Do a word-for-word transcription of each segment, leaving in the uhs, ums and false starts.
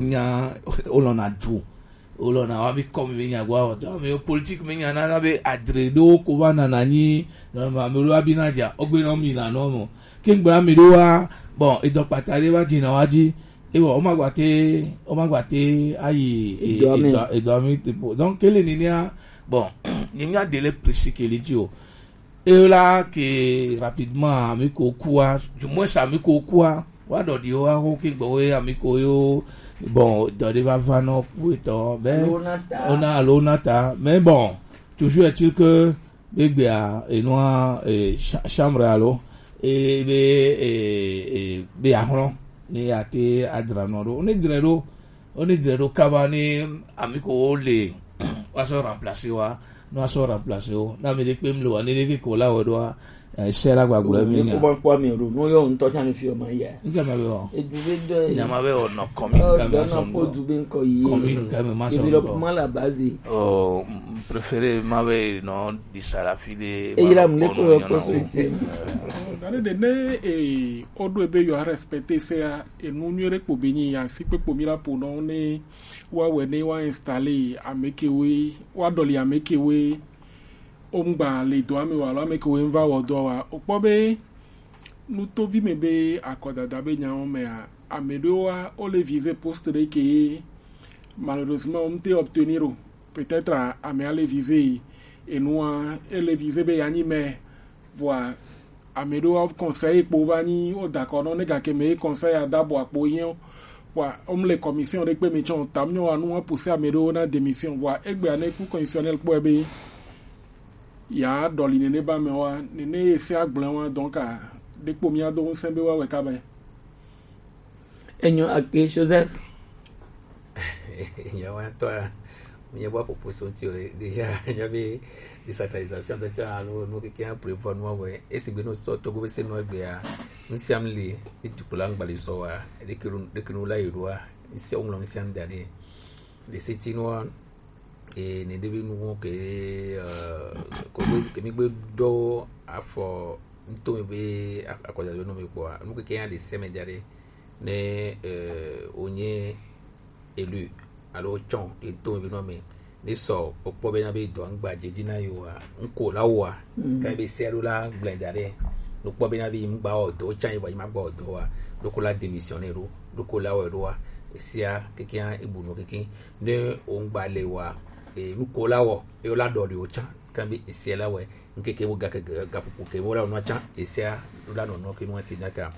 nya, wolɔna du, wolɔna wa bi kɔmi be nya gwa wɔtɔ ame yo politik me nya nana be adre ɖewo ko va nana nyi nɔnɔme ame ɖewo abi na dza ogbe nɔ mi na nɔ mɔ ke ŋgbe ame ɖewo wa. Bon, edɔ kpata ɖe va dzi na wa dzi ewɔ wo ma gba te wo ma gba te ayi e- Edɔ me. Edɔ edɔ mi te po donc kele nenea. Bon, ni mi a de le presi kele dzi o. Et là que rapidement ami ko kua, du moins ami ko kua, wa dɔ di wa ho ke gbɔ we ami ko yo. Bon, dɔ de va va nɔ ku etɔ be Alo na ta. Ona alo na ta, mais bon, toujours est-il que be gbea enua e cha- chambre alo e be e e be ahlɔ ne ate adra nɔ ɖo ne dre ɖo. Woni dre ɖo kaba ni ami ko wo le wa sɔ remplacer wa, no wa sɔ remplacer wo na mi ɖe kpe mi le wa ne ɖe ke ko la wɔ ɖo wa. Sɛ la gbagblɔ mi nya. Ko ban kpɔ mi ɖo no yɔ ŋutɔ tsa mi fi ma ya. N kɛ ma bɛ wɔ. Edu be dɔ ye. Nya ma bɛ wɔ nɔ kɔmi n kɛ ma sɔ nɔ kɔmi n kɛ ma sɔ nɔ. Ebi lɔ kuma la base. Oh, préféré ma bɛ nɔ di sara fi de. Eyi la mu le ko yɔ kɔsɔ eti. Dane de ne e o do ebe yɔ respecter se ya. Enu nyuie ɖe kpo be nyi ya si kpekpo mi la po nɔ ne wa wɛ ne wa installer ame kewoe wa dɔli ame kewoe o ŋgba le dɔa me wa alo ame kewoe ŋva wɔ dɔa wa o kpɔ be nutovi me be akɔdada be nyawo mea ame ɖewo wa o le viser poste ɖe ke malheureusement o ŋte obtenir o. Peut-être amea le viser enua ele viser be ya nyi maire. Vɔa ame ɖewo conseil kpo va nyi wo da kɔ nɔ ne gake me ye conseil ya da bɔ akpo yɛ o. Vɔa wo mle commission ɖe kpe me tsɔ tam nyɔ wa nu wa pousser ame ɖewo na démission vɔa egbea ne ku constitutionnel kpɔe be ya dɔli nene ba me wa nene ye se agblẽ wa donc a ɖe kpo mia do ŋusẽ be wa wɛ ka be. Enyo akpe Joseph. Nyawo ŋutɔa, míaƒe aƒoƒo so ŋuti o. Déjà, míabe desacralisation ƒe tsã alo nu keke hã prévoir nua vɔe. Esi gbe ne wosɔ Togo be se nua egbea, nu sia nu li, ne dukplɔla ŋgba li sɔ wa, ɖeke nu, ɖeke nu la yi ɖoa, nu sia woŋlɔ nu sia nu da ɖi. Le seti nua, e, ne ɖe be nu wɔn ke, e, ko be, ke mi gbe dɔ afɔ ŋutɔ mi be a-, akɔdado nɔ mi kpɔa, nu keke hã le se me da ɖi. Ne, eh, wonye élu alo wotsɔ eto me be nɔ me ne sɔ wokpɔ be na be dɔa ŋgba dze dzi na yewoa, ŋko la wɔa, mm, ka be se alo la gblẽ da ɖe, ne wokpɔ be na be ŋgba wɔ dɔ, wotsã yi vɔ yi ma gba wɔ dɔ wa, ɖoko la démissionner ɖo, ɖoko la wɔe ɖoa, esia keke hã ebu nɔ keke. Ne wo ŋgba le wa, e, nuko la wɔ, ye wo la ɖɔ ɖi wo tsã, ka be esia la wɔe, ŋkeke wo ga ke ga, ga ƒoƒo ke wo la nɔ tsã, esia la nɔ nɔ ke nɔ ti na ka.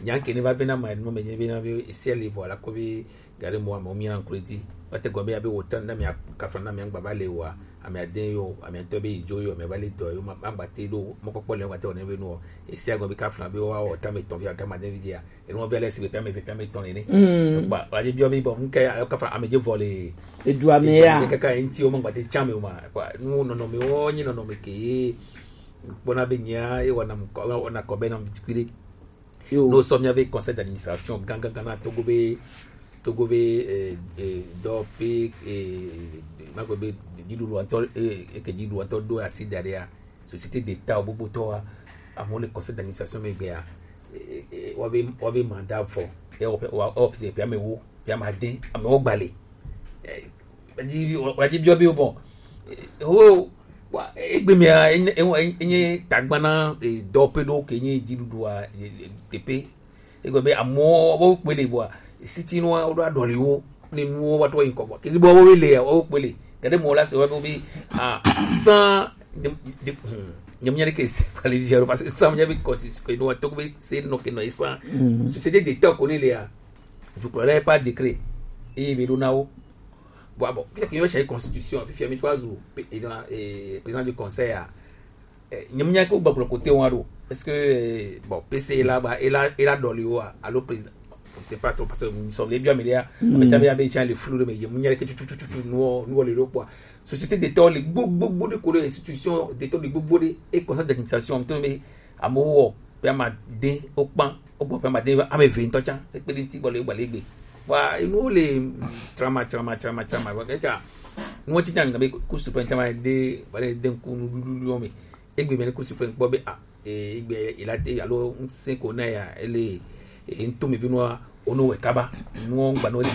Nya ke ne va vena ma nɔ me nye vena ve esia li vɔ la ko vi ga ɖe mɔ ame mi na ŋklo dzi. Wa te gɔme ya be wo tɔ na mi kafla na mi ŋgba va le wa, ame ade yo, ame tɔ be yi dzo yo, ame va le dɔ yo, ma, ma gba te ɖo mɔ kpɔkpɔ le wa te wo ne be nɔ. Esia gɔme kafla be wa o ta me tɔ vi ta ma de vi dia. Enu be le si be ta me ve ta me tɔ ne ne. Mm. Ba, wa je bi o mi bo nke ya kafla ame je vɔ le. Edua me ya. Kaka enti o ma gba te tsã me o ma. Kwa, nu nɔnɔme wo nyi nɔnɔme ke ye. Kpɔna be nyea, ye wɔna ŋkɔ, wɔna kɔ be na ŋuti kpi ɖe. Yo. Ne wosɔ míabe conseil d'administration gãgãgã na Togo be, Togo be, eh, eh, dɔ pe, eh, magbe be dziɖuɖu ŋutɔ, eh, eke dziɖuɖu ŋutɔ ɖo asi da ɖea, société d'État gbogbo tɔa, amewo le conseil d'administration me gbea, eh, eh, eh, woabe, woabe mandat vɔ, ewɔ pe, wa, ewɔ pe, pe amewo, pe ame ade, amewo gba le. Eh, wadi, wadi biɔ be, bon, eh, wo, wa, egbe mea, enye, enye, enye tagba na, eh, dɔ pe ɖo ke nye dziɖuɖua, eh, eh, teƒe. Egbe be amewo, wo kpe le bua, siti nua, wo ɖo aɖɔli wo, ne nuwo va trɔ yi ŋkɔ bua. Kezi bua, wo le ya, wo kpe le. Ke ɖe mɔ la se wa be, ah, sans, ne, ne, hmm, ne menya ɖe ke se, parce que sans menya be constitution, ke no, to be se no ke no sans. Mm. Société d'État ko ne le ya. Dukplɔla ye par décret. Eye be ɖo na wo. Bon, ah bon, peut-être que yɔ changer constitution, fifia mi to azu, pe-, eh, non, eh, président du conseil, ah. Eh, nyem nya ko gbagblɔ kote wa ɖo. Est-ce que, eh, bon, P C la ba, ela, ela dɔli wa, alo président, je sais pas trop, parce que nous sommes les biens, mais là, mm, on va dire, ah, ben, tiens, le flou, mais il y a, il y a que tu, tu, tu, tu, tu, nous, nous, le, le, quoi. Société d'État, le gbo, gbo, gbo de ko le, institution d'État, le gbo, gbo de, et conseil d'administration, on tourne, mais, amewo wɔ be ame ade wokpã, wogbɔ be ame ade, ame eve ŋutɔ tsã, se kpe ɖe ŋuti gbɔ le gbalẽ gbe. Wa enuwo le trama, trama, trama, trama, vɔ kaka nuwo tsi nya be Cour suprême tsã ma de, va le de ŋku nuɖuɖuwo me. Egbe me ne Cour suprême kpɔ be, ah, e, egbe ela te alo ŋusẽ ko na ya, ele, e, ŋutɔ me be nua, ono wɛ kaba, nuwo ŋgba no didi.